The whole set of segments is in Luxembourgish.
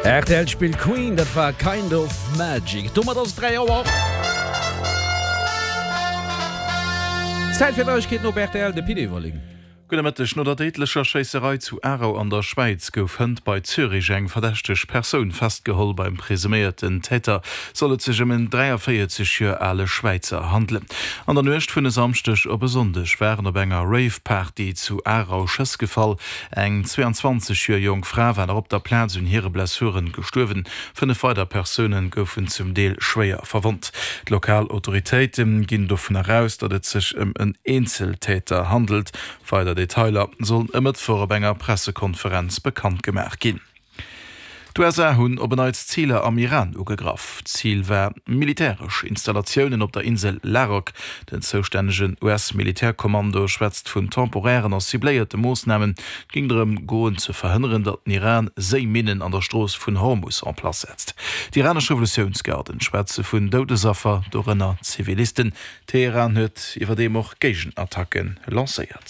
Rtl spillt Queen, dat war Kind of Magic. Domat ass et 3 Auer. Zäit fir Neiegkeeten op rtl, de Pit Everling. Gudde Mëtteg. No der déidlecher Schéisserei zu Aarau an der Schwäiz gouf hënt bei Zürich eng verdächteg Persoun festgeholl. Beim presuméierten Täter soll et sech ëm en 43 Joer ale Schwäizer handelen. An der Nuecht vun e Samschdeg op e Sonndeg waren op enger Rave-Party zu Aarau Schëss gefall. Eng 22 Joer jonk Fra war nach op der Plaz un hire Blessuren gestuerwen. 5 weider Persoune goufen zum Deel schwéier verwonnt. D'lokal Autoritéite ginn dovun eraus, datt et sech ëm en Eenzeltäter handelt. Weider Detailer sollen e Mëttwoch op enger Pressekonferenz bekannt gemaach ginn. D'USA hunn op en Neits Ziler am Iran ugegraff. Zil war militäresch Installatiounen op der Insel Larak. Den zoustännegen US-Militärkommando schwätzt vun temporären a cibléierte Moossnamen. Et géing drëm goen ze verhënneren, datt den Iran Séiminnen an der Strooss vun Hormus en place setzt. D'iranesch Revolutiounsgarden schwätze vun Doudesaffer, dorënner Zivilisten. Teheran huet iwwerdeem och Géigenattacke lancéiert.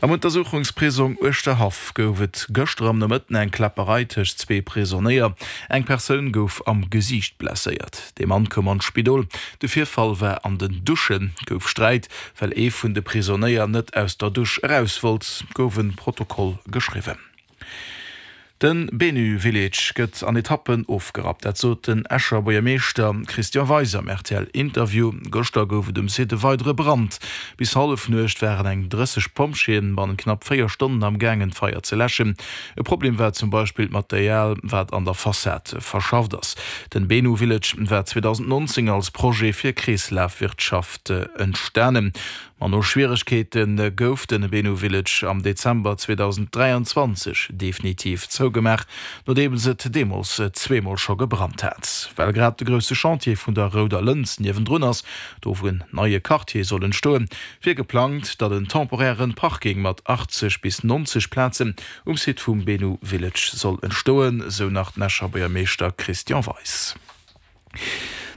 Am Untersuchungsprisong Uerschterhaff gouf et gëschter am Nomëtten eng Kläpperei tëscht zwee Prisonéier. Eng Persoun gouf am Gesiicht blesséiert. De Mann koum an d'Spidol. De Virfall war an den Duschen. Gouf Sträit, well ee vun de Prisonéier net aus der Dusch eraus wollt, gouf e Protokoll geschriwwen. De Benu Village gëtt an Etappen ofgerappt. Dat sot den Escher Buergermeeschter Christian Weis am RTL-Interview. Gëschter gouf et um Site e weidere Brand. Bis Hallefnuecht waren eng 30 Pompjeeën bannent knapp 4 Stonnen am gaangen d'Feier ze läschen. E Problem war zum Beispill d'Material, wat an der Fassad verschafft ass. Den Benu Village war 2019 als Projet fir Kreeslafwirtschaft entstanen. Ma no Schwieregkeete gouf den Benu Village am Dezember 2023 definitiv zougemaach, nodeems et deemools zweemol scho gebrannt hat. Well grad de grousse Chantier vun der Rouder Lëns niewendrun ass, do wou en neie Quartier soll entstoen, wier geplangt, datt en temporäre Parking mat 80 bis 90 Plazen um Site vum Benu Village soll entstoen, sou nach den Escher Buergermeeschter Christian Weis.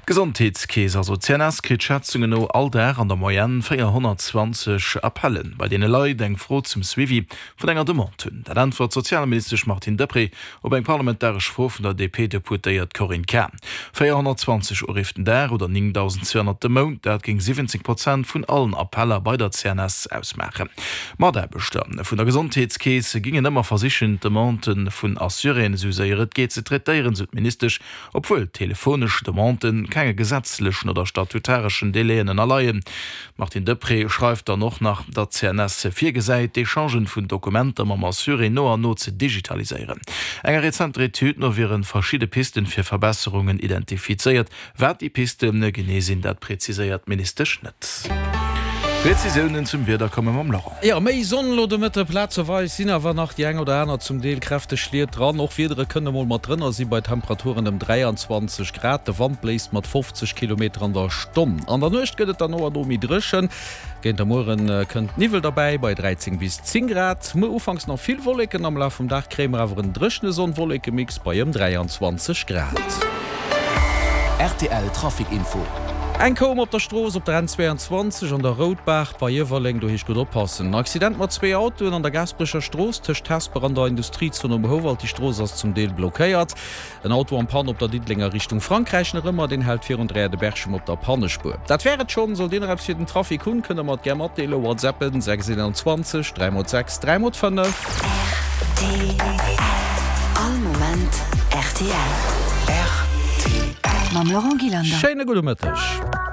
D'Gesondheetskeess, also d'CNS, kritt Schätzungen no all Dag an der Moyenne 420 Appellen, bei deene Leit eng Fro zum Suivi vun enger Demande hunn. Dat äntwert d'Sozialministesch Martine Deprez op eng parlamentaresch Fro vun der DP-Deputéiert Corinne Cahen. 420 Uriff den Dag oder 9.200 de Mount, dat géing 17 Prozent vun allen Appeller bei der CNS ausmaachen. Mataarbechter vun der Gesondheetskeess gingen ëmmer versichen, d'Demandë vun Assuréen esou séier et geet ze traitéieren, sou d'Ministesch. Obwuel telefonesch Demandë kenge gesetzlechen oder statutareschen Délaiën ënnerleien. D'Martine Deprez schreift dann och nach, datt d'CNS virgesäit, d'Echangen vun Dokumenter mam Assuré no an no ze digitaliséieren. Enger rezenter Etüd no wiere verschidde Pisten fir Verbesserungen identifizéiert. Wat déi Piste genee sinn, dat präziséiert d'Ministesch net. Prezisiounen zum Wieder komme mam Laurent. Jo, méi Sonn elo de Mëtte, plazeweis sinn awer nach déi eng oder aner zum Deel kräfteg Schliet dran. Och Wiedere kënne mol mat drënner si bei Temperaturen ëm 23 Grad. De Wand bléist mat 50 Kilometer an der Stonn. An der Nuecht gëtt et dann no an no méi dréchen. Géint der Mueren kënnt Niwwel derbäi bei 13 bis 10 Grad. Muer ufanks nach vill Wolleken, am Laf vum Dag kréie mer awer en dréchene Sonn-Wolleke-Mix bei ëm 23 Grad. Rtl Trafic Info. Eng koum op der Strooss op der N22 an der Routbaach bei Iewerleng, do heescht gutt oppassen. Accident mat zwee Autoen an der Gaasperecher Strooss tëscht Hesper an der Industriezon um Houwald. Déi Strooss ass zum Deel blockéiert. En Auto en Panne op der Diddelenger Richtung Frankräich nach ëmmer, deen hält virun Dräier de Berchem op der Pannespuer. Dat wär et schonn. Sollt Dir nach eppes fir den Trafic hunn, kënnt der mer et gär matdeelen. WhatsAppen 6 21 3 x 6 3 x 5. Rtl. All Moment rtl. Rtl. Mam Laurent Gillander. Schéine gudde Mëtteg.